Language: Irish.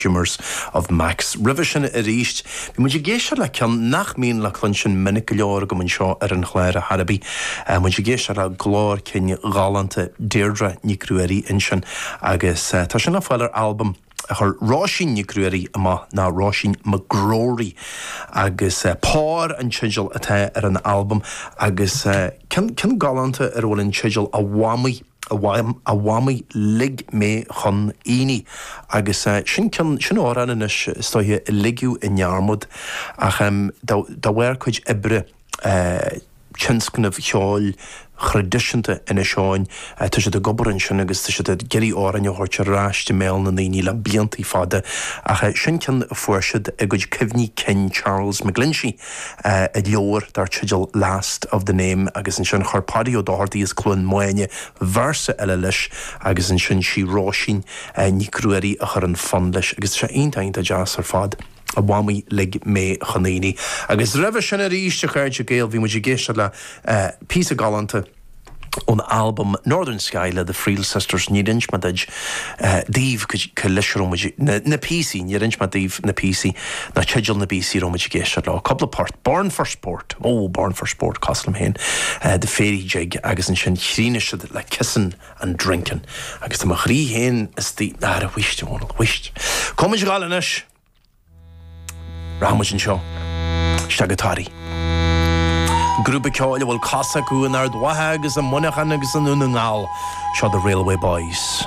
Humours of Max. Roimhe sin arís, bhí muid ag éisteacht le ceann nach mbíonn le cluinstin minic go leor agam anseo ar an chlár ar chor ar bith. Muid ag éisteacht le glór cinn galánta Deirdre Nic Ruairí ansin agus tá sin le fáil ar albam a chuir Róisín Nic Ruairí amach, ná Róisín McGrory agus Pár an teideal atá ar an albam agus ceann ceann galánta ar a bhfuil an teideal A Mhamaí. A Mhamaí lig mé chun aonaigh agus sin ceann, sin amhrán anois is dóiche a ligeadh i ndearmad ach de bharr cuid oibre tionscnaimh cheoil thraidisiúnta Inis Eoghain, tá siad ag obair ansin agus tá siad ag iarraidh amhráin a thabhairt ar ais i mbéal na ndaoine le bliantaí fada ach sin ceann a fuair siad i gcuid cuimhní cinn Charles McGlinchey. i leabhar dar teideal Last of the Name agus ansin chuir Páidí Ó Dochartaigh as Cluain Maine véarsa eile leis agus ansin sí Róisín Nic Ruairí a chuir an fonn leis agus tá sé iontach iontach deas ar fad. A Mhamaí lig mé chun aonaigh. Agus roimhe sin arís a chairde Gael bhí muid ag éisteacht le píosa galánta ón albam Northern Sky le The Friel Sisters, níor inis mé duit, daoibh, cá leis a raibh muid, na píosaí, níor inis mé daoibh na píosaí, ná teideal na bpíosaí a raibh muid ag éisteacht leo. Cúpla port, Born for Sport, oh, Born for Sport, cosúil liom féin, The Fairy Jig agus ansin chríochnaigh siad le Kissin' and Drinkin' agus tá mo chroí féin istigh, ara, whisht, a Dhónaill, whisht. Cá bhfuil muid ag gabháil anois? Rachaidh muid anseo isteach go Toraigh. Grúpa ceoil a bhfuil cosa acu in Ard Mhacha agus i Muineachán agus i nDún na nGall. Seo The Railway Boys.